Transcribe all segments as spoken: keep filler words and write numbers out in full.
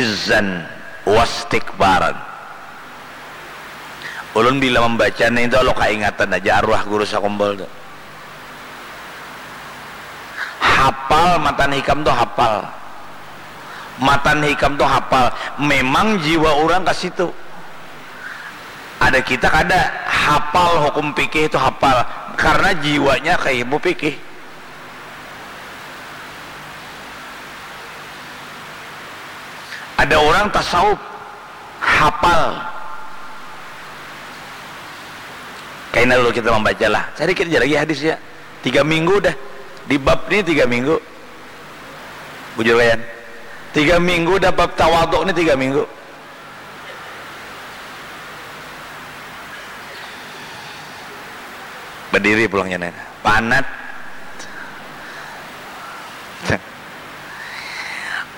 izzan wastikbaran. Ulun bila membaca nih itu lo kaingatan aja arwah guru sakumpul tu. Hapal matan hikam tu hapal. Matan hikam tu hapal. Memang jiwa orang ke situ. Ada kita kada hapal hukum fikih itu hapal karena jiwanya ke ilmu fikih. Ada orang tasawuf hapal. Kaina dulu kita membaca lah. Cari kita lagi hadis ya. Tiga minggu dah. Di bab ni tiga minggu. Bujur kalian. Tiga minggu dah bab tawaduk ni tiga minggu. Berdiri pulangnya nih. Panat.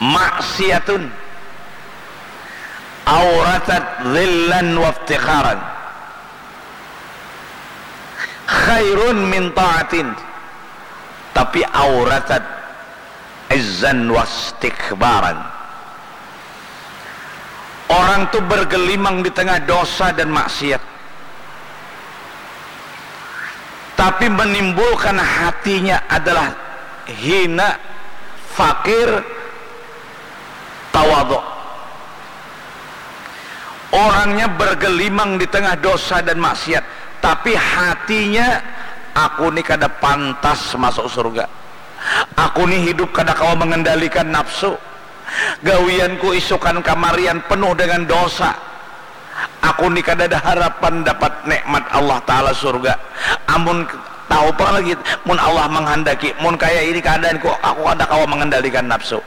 Maksiatun auratat zillan waftikharan khairun min ta'atin, tapi auratat izzan wastikbaran. Orang tu bergelimang di tengah dosa dan maksiat, tapi menimbulkan hatinya adalah hina, fakir, tawaduk. Orangnya bergelimang di tengah dosa dan maksiat, tapi hatinya, aku ni kada pantas masuk surga. Aku ni hidup kada kawa mengendalikan nafsu. Gawianku isukan kamarian penuh dengan dosa. Aku ni kadada harapan dapat nikmat Allah Ta'ala surga. Amun tahu apa lagi, mun Allah menghendaki, mun kaya ini keadaanku, aku kada kawa mengendalikan nafsu.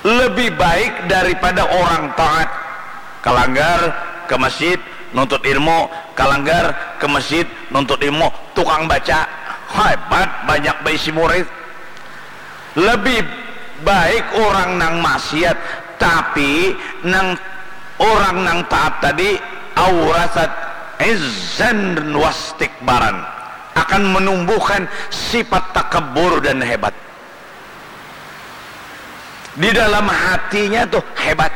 Lebih baik daripada orang taat, kalanggar ke masjid nuntut ilmu, kalanggar ke masjid nuntut ilmu, tukang baca, hebat, banyak baisi murid. Lebih baik orang nang maksiat, tapi nang orang nang taat tadi aurasat izzan wastikbaran, akan menumbuhkan sifat takabur dan hebat. Di dalam hatinya tuh hebat.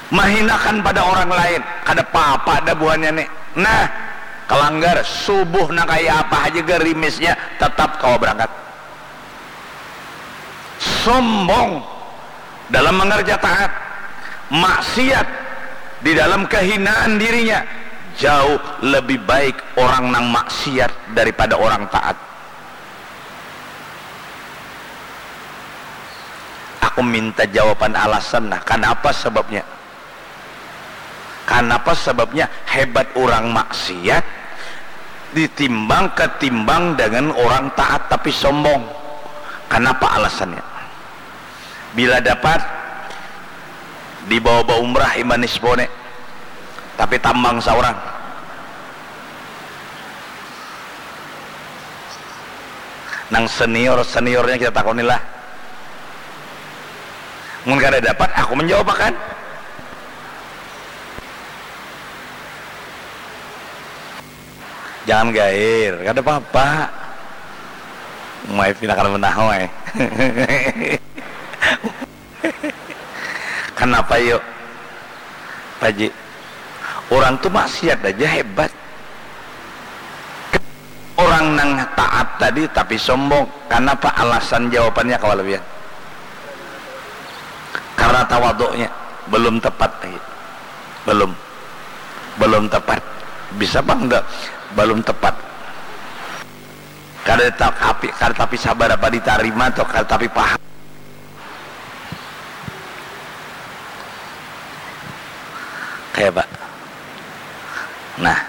Mahinakan pada orang lain, kada papa dah buhannya nih. Nah, kalanggar, subuh nang kaya apa haja gerimisnya tetap kawa berangkat. Sombong dalam mengerja taat, maksiat di dalam kehinaan dirinya, jauh lebih baik orang nang maksiat daripada orang taat. Aku minta jawaban alasan nah, kanapa sababnya? Kanapa sababnya hebat urang maksiat ditimbang ketimbang dengan orang taat tapi sombong? Kanapa alasannya? Bila dapat dibawa baumrah iman nisbo ne, tapi tambang saurang. Nang senior-seniornya kita takonilah. Mun kada dapat, aku menjawab akan. Jangan gair, kada papa. Umai pina kada menahu ai. Kanapa yu, Paji? Urang tu maksiat aja hebat. Urang nang taat tadi tapi sombong. Kanapa alasan jawabannya kawa labihan? Karena tawaduknya belum tepat lagi. Belum. Belum tepat. Bisa bang enggak? Belum tepat. Kada tapi, kada tapi sabar apa ditarima atau kada tapi paham. Kaya apa? Nah.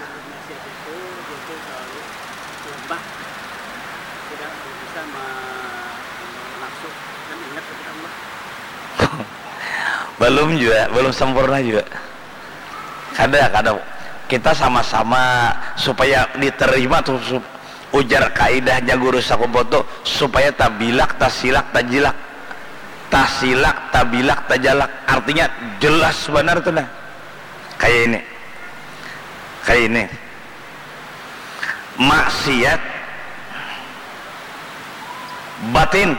Belum juga, belum sempurna juga. Kada, kada. Kita sama-sama supaya diterima tuh, sup-, ujar kaidahnya guru sakumpul tuh, supaya tabilak, tasilak, tajilak. Tasilak, tabilak, tajalak. Artinya jelas banar tuh nah. Kayak ini. Kayak ini. Maksiat batin,